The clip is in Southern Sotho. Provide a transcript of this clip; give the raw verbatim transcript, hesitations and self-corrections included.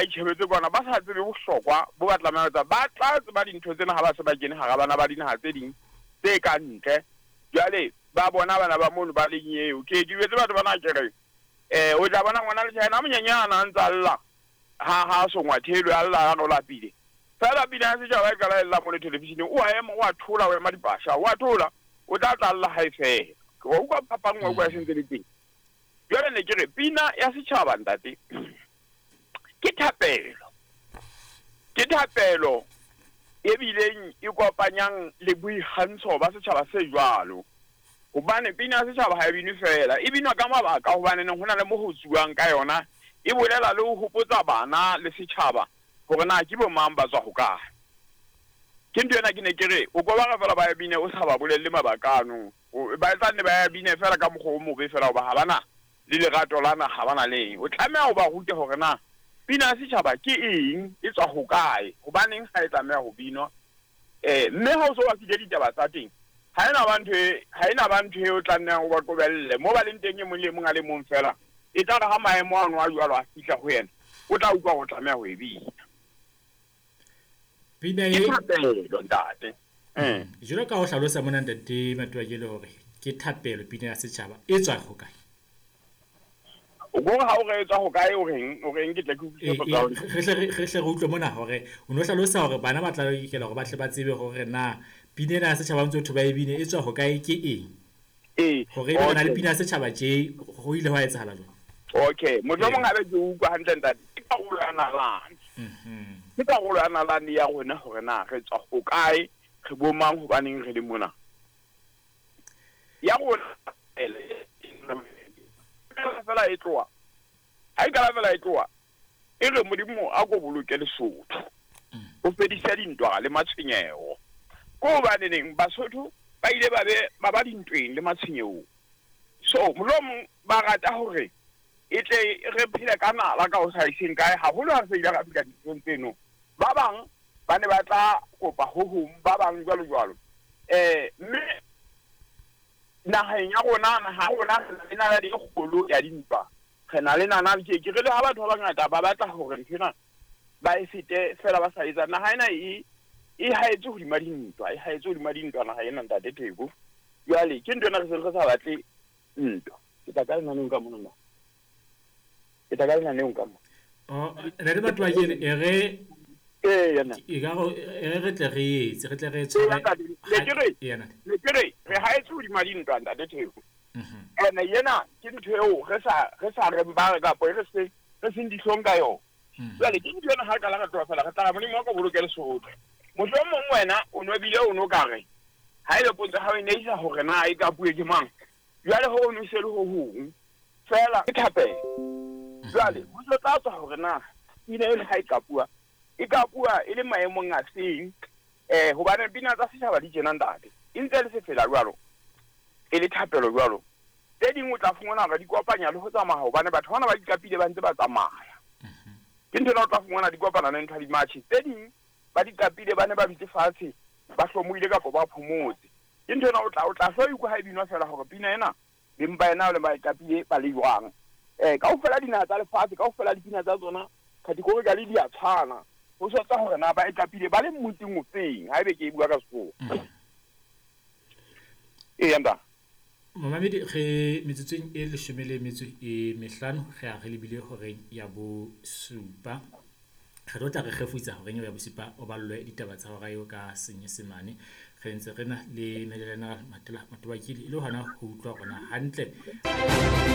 ba itjhebetse kwana ba sa tsebe bohlokwa bo ba tlameha ho etsa. Ba tla tseba dintho tsena ha ba se ba kene hara bana ba dinaha tse ding tse ka ntle. Jwale ba bona bana ba mono ba leng eo. Ke ke jwetse batho bana ke re eh o tla bona ngwana le China a monyenyana a ntsa lla ha ha songwa thelo a lla a o lapile. Fela pina ya setjhaba e qala e lla mo television-eng, o a ema o a thola o ema dipasha o a thola o tla tla lla ha e fela. Wa utlwa phapang wa utlwa e sentse le teng. Jwale ne ke re pina ya setjhaba ntate ke thapelo. Ke thapelo e bileng e kopanyang le boikgantsho ba setjhaba se jwalo. Hobane pina ya setjhaba ha e binwe fela, e binwa ka mabaka hobane ho na le mo ho tsuwang ka yona, e bolela le ho hopotsa bana le setjhaba hore na ke bo mang ba tswa hokae. Ke ntho ena ke ne ke re o ko ba re fela ba e bine o sa ba bolelle mabaka ano. Ba tla nne ba e bine fela ka mokgwa o mobe fela hoba ha bana le lerato la naha, ha bana le eng. O tlameha ho ba rute hore na pina ya setjhaba ke eng, e tswa hokae, hobaneng ha e tlameha ho binwa. Eh mme ha o so ba file ditaba tsa teng, ha ena ba ntho e, ha ena ba ntho e o tla nnang o ba qobelle. Mo ba leng teng e mong le mong a le mong fela, e tla re ha maemo ano a jwalo a fihla ho yena, o tla utlwa hore o tlameha ho e bina. Pina Ke e thapelo ntate. Eh. Jwalo ka ho hlalosa mona ntate Matoakele hore ke thapelo pina ya setjhaba e tswa hokae? O gore ha o re e tswa hokae o reng, o reng ke tle ke utlwisise E, e, potso ya hao. re hle re re hle re utlwe mona hore o no hlalosa hore bana ba tla lokela hore ba tle ba tsebe hore na pina ena ya setjhaba ntse ho ba e bine e tswa hokae ke eng. Ee, Hore ebe re na le okay. pina ya setjhaba tje ho ile hwa etsahala jwang? Okay, mohlomong Ee. haebe ke utlwa hantle ntate, ke karolo ya nalane. Mhm. Ke karolo ya nalane ya rona hore na re tswa hokae, re bo mang, hobaneng re le mona. Ya rona fela e tloha. Ha e qala fela e tloha, e re Modimo a ko boloke Lesotho. O fedise dintwa le matshwenyeho. Ko hobaneneng Basotho ba ile ba be ba ba dintweng le matshwenyehong. So mohlomong ba rata hore e tle re phele ka nala ka ho sa iseng kae, haholo ha re se ile ra fihla dinthong tseno. Ba bang ba ne ba tla kopa ho hong, ba bang jwalo jwalo. Eh mme naheng ya rona, naha ya rona re na le nalane e kgolo ya dintwa. Re na le nalane ke ke re le ha batho ba bangata ba batla hore nthwena ba e fete fela ba sa etsa. Naha ena e e haetse hodima dintwa, e haetse hodima dintwa naha ena ntate Theko. Jwale ke ntho ena re seng re sa batle ntwa. Ke tla ka lenaneong ka mona na. Ke tla ka lenaneong ka mona. Oh, ntate Matoakele e re Ee, yena. e ka re e re re tle re etse, re tle re Ee, tshware ntate, ne ke re, Ee, ntate. ne ke re, re haetse hodima dintwa ntate Theko. Mhm. Ene yena ke ntho eo re sa re sa reng ba re kapa e re se re seng dihlong ka yona. Mhm. Jwale ke ntho ena ha re qala re tloha fela re tla re Modimo wa ko boloke Lesotho. Mohlomong wena o no bile o no ka re ha ele potso ya hao e ne isa hore na e ka puwe ke mang. Jwale ho o no se le ho hong fela ke thapelo. Jwale ho tlo tla tswa hore na pina ena ha e ka bua, e ka bua e le maemong a seng. Eh hobane pina tsa setjhaba di tjena ntate, e ntse le sefela jwalo, e le thapelo jwalo. Tse ding o tla fumana hore di kopanya le ho tsamaya hobane batho bana ba di qapile ba ntse ba tsamaya. Ke ntho ena o tla fumana di kopana le ntho ya di-march. Tse ding ba di qapile ba ne ba dutse fatshe, ba hlomohile kapa ba phomotse. Ke ntho ena o tla o tla hlo utlwa ha e binwa fela hore pina ena beng ba ena ba e qapile ba le jwang. Eh kaofela dinaha tsa lefatshe, kaofela dipina tsa tsona categorically di a tshwana. Ho so tsa hore na ba e qapile ba le motseng o feng, haebe ke e bua ka Sekgowa. Ee, ntate. Momamedi re metsotsong e leshome le metso e mehlano re a re lebile horeng ya bosupa. Re tlo tla re kgefutsa horeng eo ya bosupa o ballwe ditaba tsa hora eo ka Senyesemane. Re ntse re na le Major General Matela Matoakile e le hona ho utlwa rona hantle.